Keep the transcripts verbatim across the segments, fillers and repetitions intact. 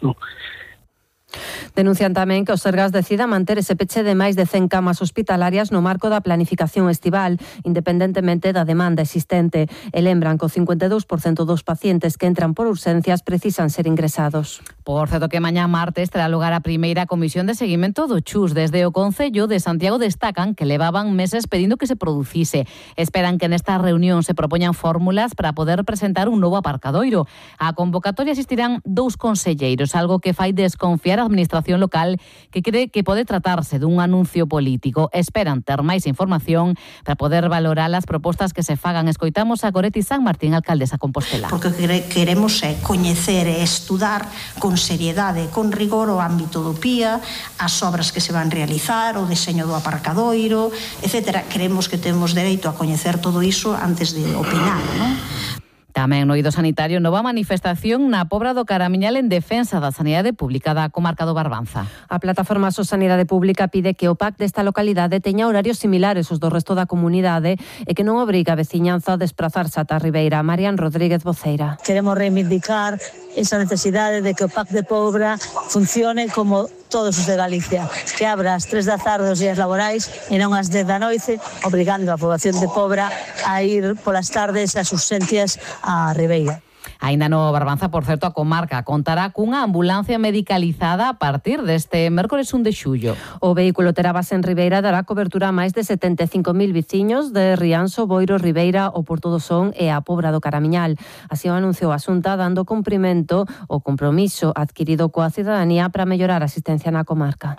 non? Denuncian tamén que o Sergas decida manter ese peche de máis de cen camas hospitalarias no marco da planificación estival, independentemente da demanda existente, e lembran que o cincuenta e dous por cento dos pacientes que entran por urxencias precisan ser ingresados. Por certo que mañá martes terá lugar a primeira comisión de seguimento do Chus. Desde o Concello de Santiago destacan que levaban meses pedindo que se producise. Esperan que nesta reunión se propoñan fórmulas para poder presentar un novo aparcadoiro. A convocatoria asistirán dous conselleiros, algo que fai desconfiar a administración local, que cree que pode tratarse dun anuncio político. Esperan ter máis información para poder valorar as propostas que se fagan. Escoitamos a Goretti San Martín, alcaldesa Compostela. Porque queremos é coñecer e estudar con seriedade, con rigor o ámbito do P I A, as obras que se van realizar, o deseño do aparcadoiro, etcétera. Creemos que temos dereito a coñecer todo iso antes de opinar, non? Tamén no eido sanitario, nova manifestación na Pobra do Caramiñal en defensa da sanidade pública da comarca do Barbanza. A plataforma So Sanidade Pública pide que o P A C desta localidade teña horarios similares aos do resto da comunidade e que non obriga a veciñanza a desplazarse ata a Ribeira. Marian Rodríguez Voceira. Queremos reivindicar esa necesidade de que o P A C de Pobra funcione como todos os de Galicia, que abra as tres da tarde os días laborais e non as dez da noite, obrigando a poboación de Pobra a ir polas tardes ás urxencias a Ribeira. Aínda no Barbanza, por certo, a comarca contará cunha ambulancia medicalizada a partir deste mércores un de xullo. O vehículo terá base en Ribeira, dará cobertura a máis de setenta e cinco mil veciños de Rianxo, Boiro, Ribeira, o Porto do Son e a Pobra do Caramiñal. Así o anunciou a Xunta, dando cumprimento ao compromiso adquirido coa cidadanía para mellorar a asistencia na comarca.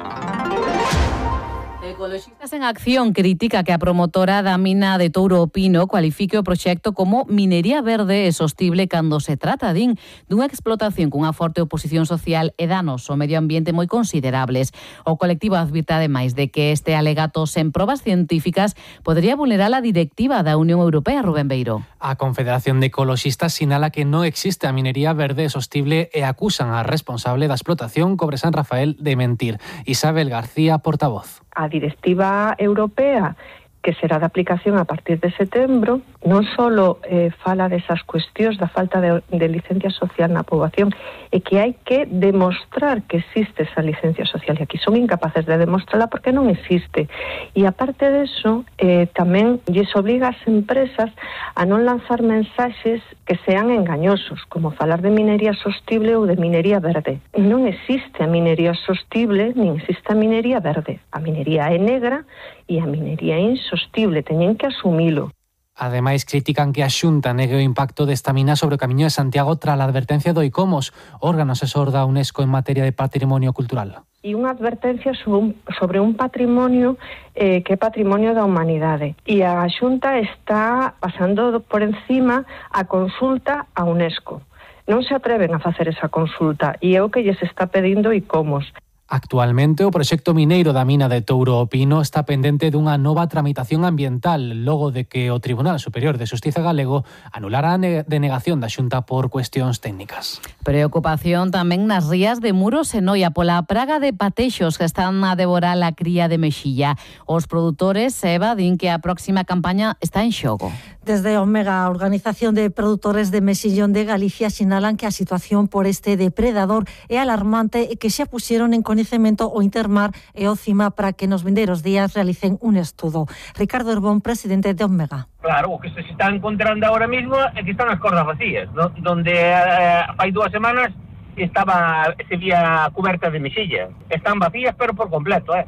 Ecoloxistas en Acción critica que a promotora da mina de Touro o Pino cualifique o proxecto como minería verde e sostible cando se trata, din, dunha explotación cunha forte oposición social e danos ao medio ambiente moi considerables. O colectivo advirte ademais de que este alegato sen probas científicas podría vulnerar a directiva da Unión Europea, Rubén Beiro. A Confederación de Ecoloxistas sinala que non existe a minería verde e sostible e acusan a responsable da explotación Cobre San Rafael de mentir. Isabel García, portavoz. A directiva europea, que será de aplicación a partir de setembro, non só eh, fala desas cuestións da falta de, de licencia social na poboación, e que hai que demostrar que existe esa licencia social, e aquí son incapaces de demostrarla porque non existe. E aparte deso, eh, tamén lles obliga ás empresas a non lanzar mensaxes que sean engañosos, como falar de minería sostible ou de minería verde. Non existe a minería sostible, nin existe a minería verde. A minería é negra e a minería é insostible, teñen que asumilo. Ademais, critican que a Xunta negue o impacto desta mina sobre o Camiño de Santiago tras a advertencia do ICOMOS, órgano asesor da UNESCO en materia de patrimonio cultural. E unha advertencia sobre un, sobre un patrimonio eh, que é patrimonio da humanidade. E a Xunta está pasando por encima a consulta a UNESCO. Non se atreven a facer esa consulta e é o que lles está pedindo ICOMOS. Actualmente, o proxecto mineiro da mina de Touro o Pino está pendente dunha nova tramitación ambiental, logo de que o Tribunal Superior de Xustiza galego anulara a denegación da Xunta por cuestións técnicas. Preocupación tamén nas rías de Muros e Noia pola praga de patexos que están a devorar a cría de mexilla. Os produtores Eva din que a próxima campaña está en xogo. Desde Omega, a Organización de Produtores de Mexillón de Galicia, sinalan que a situación por este depredador é alarmante e que xa puxeron en coñecemento o Intermar e o CIMA para que nos vindeiros días realicen un estudo. Ricardo Herbón, presidente de Omega. Claro, o que se está encontrando ahora mismo é que están as cordas vacías, ¿no? Donde eh, fai dúas semanas estaba se vía cuberta de mexilla. Están vacías, pero por completo, eh?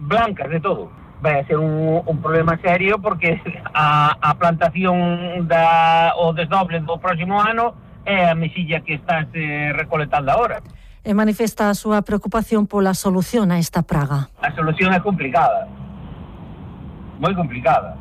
blancas de todo. Vai a ser un, un problema serio porque a, a plantación da, o desdoble do próximo ano é a mexilla que está se recolectando agora. E manifesta a súa preocupación pola solución a esta praga. A solución é complicada, moi complicada.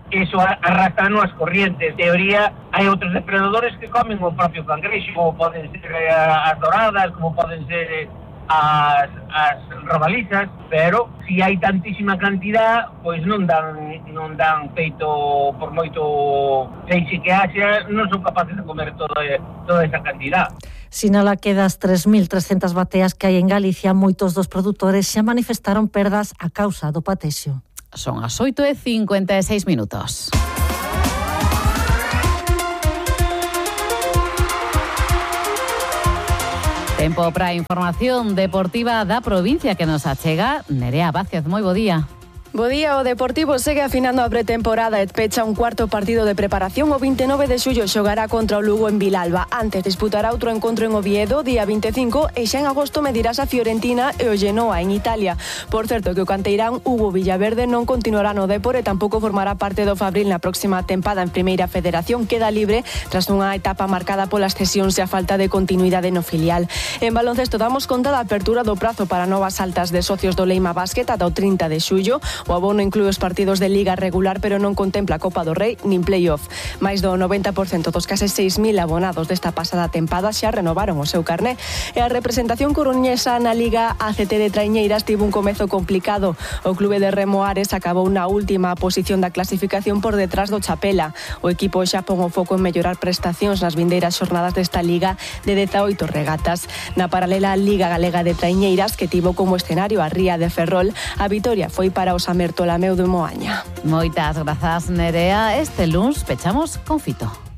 Iso arrastra as corrientes. En teoría, hai outros depredadores que comen o propio cangrexo, como poden ser as doradas, como poden ser as, as rabalizas, pero se si hai tantísima cantidad, pois non dan non dan peito, por moito feixe que haxa, non son capaces de comer toda, toda esa cantidad. Sinala que das tres mil trescentas bateas que hai en Galicia, moitos dos produtores xa manifestaron perdas a causa do patexio. Son as oito e cincuenta e seis minutos. Tempo para a información deportiva da provincia que nos achega Nerea Vázquez. Moi bo día. Bo día, o Deportivo segue afinando a pretemporada e pecha un cuarto partido de preparación. O vinte e nove de xullo xogará contra o Lugo en Vilalba. Antes disputará outro encontro en Oviedo, día vinte e cinco, e xa en agosto medirás a Fiorentina e o Genoa en Italia. Por certo que o canteirán Hugo Villaverde non continuará no Depor e tampouco formará parte do Fabril na próxima tempada en Primeira Federación. Queda libre tras unha etapa marcada polas cesións e a falta de continuidade no filial. En baloncesto damos conta da apertura do prazo para novas altas de socios do Leima Basket ata o trinta de xullo. O abono inclúe os partidos de Liga regular, pero non contempla Copa do Rei nin playoff. Mais do noventa por cento dos case seis mil abonados desta pasada tempada xa renovaron o seu carné. E a representación coruñesa na Liga A C T de Traiñeiras tivo un comezo complicado. O clube de Remo Ares acabou na última posición da clasificación por detrás do Chapela. O equipo xa pon o foco en mellorar prestacións nas vindeiras xornadas desta Liga de dezaoito regatas. Na paralela Liga Galega de Traiñeiras, que tivo como escenario a Ría de Ferrol, a vitoria foi para os Amertolameu de Moaña. Moitas grazas, Nerea. Este luns pechamos con Fito.